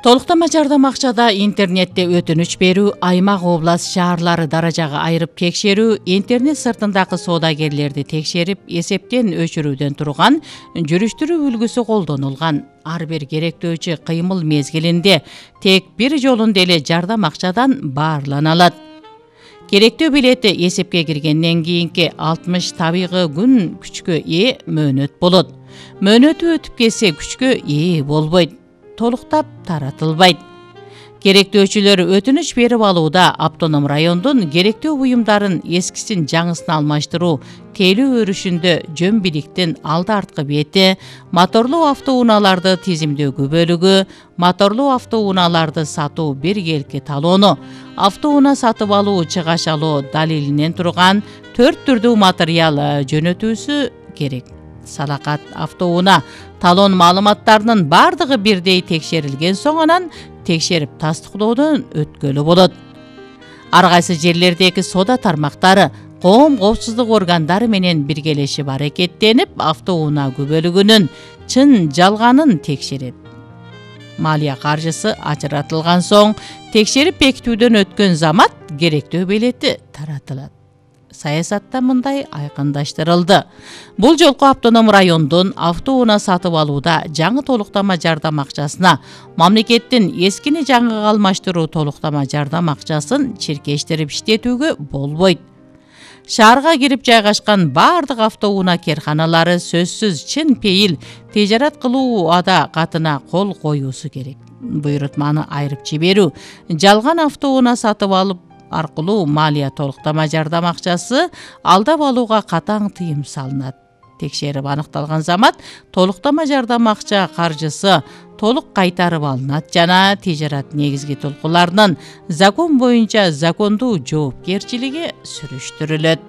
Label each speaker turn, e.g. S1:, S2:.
S1: Толуктама жардам акчада интернетте өтүнүч берүү, аймак, область, шаарлары даражага айырып текшерүү, интернет сыртындагы соодагерлерди текшерип, эсептен өчүрүүдөн турган жүрүштүрүү үлгүсү колдонулган. Ар бир керектөөчү кыймыл мезгилинде тек бир жолунда эле жардам акчадан баарлана алат. Керектөө билети эсепке киргенден кийинки 60 табигый күн күчкө ээ мөөнөт болот. Мөөнөтү өтүп кетсе күчкө ээ болбойт. Толуктап таратылбайт. Керектөөчүлөр өтүнүч берип алууда автоном райондун керектөө буюмдарын эскисин жаңысын алмаштыруу, тейлөө өрүшүндө жөн биликтин алды арткы бети, моторлуу автоунааларды тизимдөөкү бөлүгү, моторлуу автоунааларды сатуу биргелки талоону, автоунаа сатып алуу чыгаш алуу далилинен турган 4 түрдүү материал жөнөтүүсү керек. Салакат автоунаа талон маалыматтарынын бардыгы бирдей текшерилген соң анан текшерип тастыктоодон өткөлү болот. Ар кайсы жерлердеги соода тармактары коом коопсуздук органдары менен биргелешип аракеттенип, автоунаа күбөлүгүнүн чын жалганын текшерет. Малия каржысы ажыратылган соң, текшерип бекитүүдөн өткөн замат керектөө билети таратылат. Саясатта мындай айкындаштырылды. Бул жолку автоном райондун автоунаа сатып алууда жаңы толуктама жардам акчасына мамлекеттин эскини жаңыга алмаштыруу толуктама жардам акчасын чиркештирип иштетүүгө болбойт. Шаарга кирип жайгашкан бардык автоунаа керканалары сөзсүз чын пейил тижарат кылуу ада катына кол коюусу керек. Буйрутманы айырып жиберүү, жалган автоунаа сатып алып аркылуу малия толуктама жардам акчасы алдап алууга катаң тыйым салынат. Текшерип аныкталган замат толуктама жардам акча каржысы толук кайтарып алынат жана тижарат негизги толкуларынын закон боюнча закондуу жоопкерчилиги сүрүштүрүлөт.